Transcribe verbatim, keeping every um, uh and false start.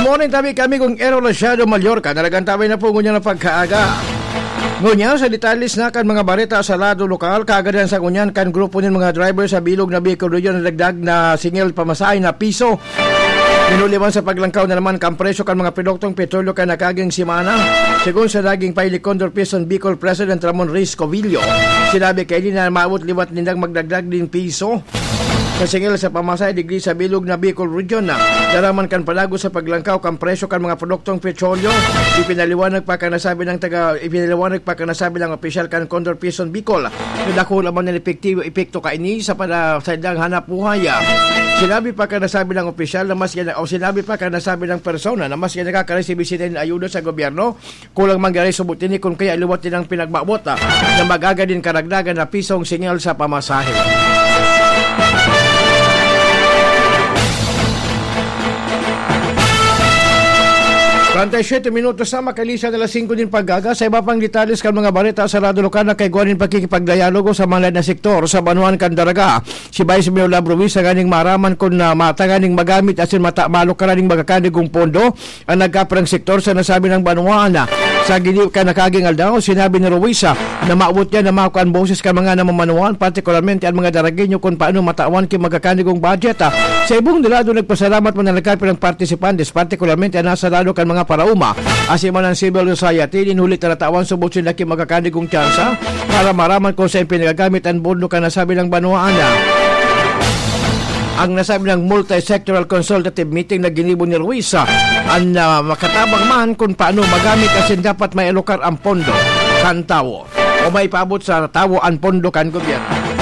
Morning tabi kami kung Ero Rashado Mallorca, nalagan tabi na po ngunyan ang pagkaaga. Ngunyan sa detalles na kan mga bareta sa lado lokal, kaagadan sa ngunyan kan grupo nin mga driver sa bilog na Bicol Region na dagdag na singil pamasahe na piso. Minuliwan sa paglangkaw na naman kan presyo kan mga produktong petrolyo kan nakaging semana. Segun sa naging pahayag ni Condor Peso Bicol President Ramon Reyes Covillo, sinabi kaini na maabot liwat nindang magdagdag nin piso sa singil sa pamasahe digdi sa bilog na Bicol Region na daraman kan palago sa paglangkaw kan presyo kan mga produktong petrolyo. Ipinaliwanag pa kan nasabi ng taga ipinaliwanag pa kan nasabi ng opisyal kan Condor Peso Bicol na dakula man ang epektibo epekto kaini sa pada sa ilang hanap buhay. Sinabi pa kan nasabi ng opisyal na maski na, o sinabi pa kan nasabi ng persona na maski nakakaresibi sila ng ayuda sa gobyerno, kulang man gani subot ini kun kaya liwat nilang pinagbabot, ah, na magaga din karagdagan na pisong singil sa pamasahe. Treinta y siete minutos na, makalisan na alas singko din paggaga. Sa iba pang detalles kan mga bareta sa lado lokal na kaigwa nin pakikipagdialogo sa mga na sektor sa banwaan kan Daraga, si Vice Mayor Lab Ruiz sa ganing maraman kun na matanganing magamit asin mata malukaran ning magkakanigong pondo ang nagkaparang sektor sa nasabi ng banwaan. Sa ginibo kan nakaging aldaw, sinabi ni Ruiz, ah, na maabot niya na makuha ang boses kan mga namamanuan, partikularmente ang mga Daragueño, kung paano matawan ki magkakanigong budget. Ah, sa ibong lado, nagpasalamat man ang nagkaparang partisipantes, partikularmente ang nasa lado kan mga paraoma, asin man ang civil society, din huli na natawan subot sinda ki magkakanigong tsansa para maraman kung saan pinagagamit ang pondo kan nasabi ng banwaan. Ang nasabi ng multi-sectoral consultative meeting na ginibo ni Ruiz, ah, ang, ah, makatabang man kung paano magamit asin dapat mailokar ang pondo kan tawo o maipaabot sa tawo ang pondo kan gobyerno.